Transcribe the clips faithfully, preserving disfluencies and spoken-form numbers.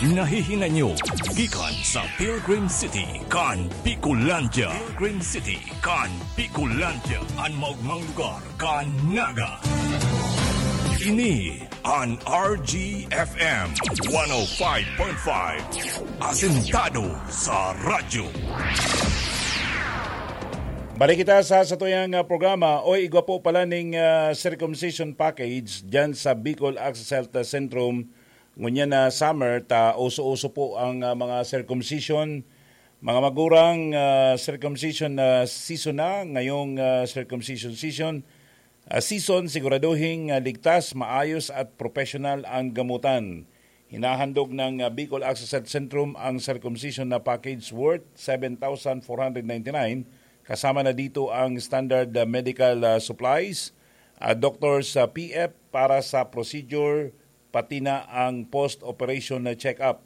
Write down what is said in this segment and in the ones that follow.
Nahihinanyo gikan sa Pilgrim City kan Bicolandia. Pilgrim City kan Bicolandia, an maogmang lugar kan Naga. Ini an R G F M one oh five point five, asentado sa radyo. Balik kita sa satuyang, ah, programa. Oy, igwa po pala ning, ah, circumcision package dyan sa Bicol Access Health Centrum. Ngunyan na summer, ta uso-uso po ang, ah, mga circumcision. Mga magurang, ah, circumcision na season na. Ngayong, ah, circumcision season, ah, season, siguraduhing, ah, ligtas, maayos at professional ang gamutan. Hinahandog ng, ah, Bicol Access Health Centrum ang circumcision na package worth seven thousand four hundred ninety-nine, kasama na dito ang standard, ah, medical, ah, supplies, ah, doctor's, ah, P F para sa procedure, pati na ang post-operation na check-up.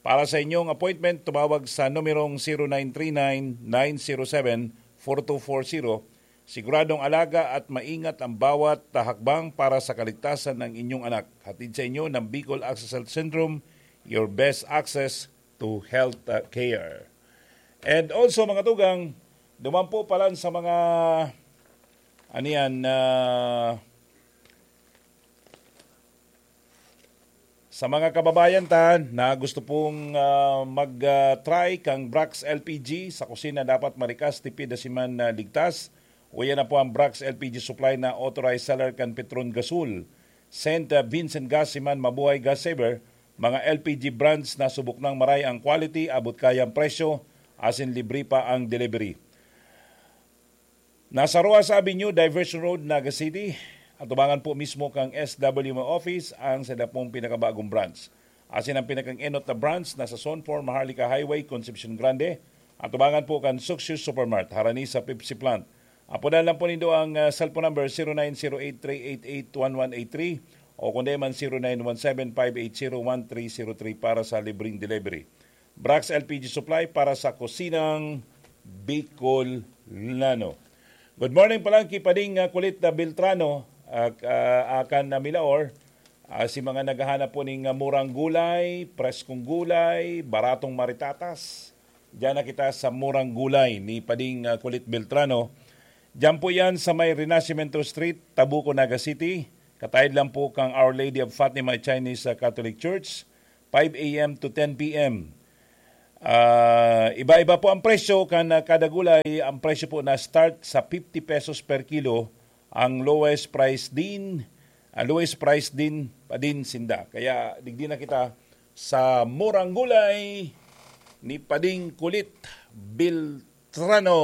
Para sa inyong appointment, tumawag sa numerong zero nine three nine, nine zero seven, four two four zero. Siguradong alaga at maingat ang bawat hakbang para sa kaligtasan ng inyong anak. Hatid sa inyo ng Bicol Access Health Centrum, your best access to health, uh, care. And also, mga tugang, duman po palan sa mga, ano yan, ah, sa mga kababayan ta na gusto pong, ah, mag, ah, try kang Brax L P G sa kusina, dapat marikas, tipid, asin man, ah, ligtas. Uya na po ang Brax L P G Supply na authorized seller kan Petron Gasol, Saint Vincent Gas, asin man Mabuhay Gas Saver, mga L P G brands na subok nang maray ang quality, abot kaya ang presyo, asin libre pa ang delivery. Nasa Roxas Avenue, Diversion Road, Naga City. Atubangan po mismo kang S W M office ang sainda pong pinakabagong branch. Asin ang pinakang-enot na branch nasa Zone four, Maharlika Highway, Concepcion Grande. Atubangan po kan Success Supermart, harani sa Pepsi Plant. Apodan lang po nindo ang, ah, cellphone number, zero nine zero eight three eight eight one one eight three o kundi man zero nine one seven five eight zero one three zero three para sa libreng delivery. Brax L P G Supply para sa kusinang Bicolano. Good morning palan ki Pading, ah, Kulit na Beltrano, ah, ah, akan na Milaor. Ah, si mga naghahanap po ning, ah, murang gulay, preskong gulay, baratong maritatas. Diyan na kita sa murang gulay ni Pading, ah, Kulit Beltrano. Diyan po yan sa may Renacimiento Street, Tabuco, Naga City. Kataid lang po kang Our Lady of Fatima Chinese, ah, Catholic Church, five a m to ten p m. Ah, iba-iba po ang presyo kan, ah, kada gulay. Ang presyo po na start sa fifty pesos per kilo. Ang lowest price din, ang lowest price din pa din sinda. Kaya digdi na kita sa murang gulay ni Pading Kulit Beltrano.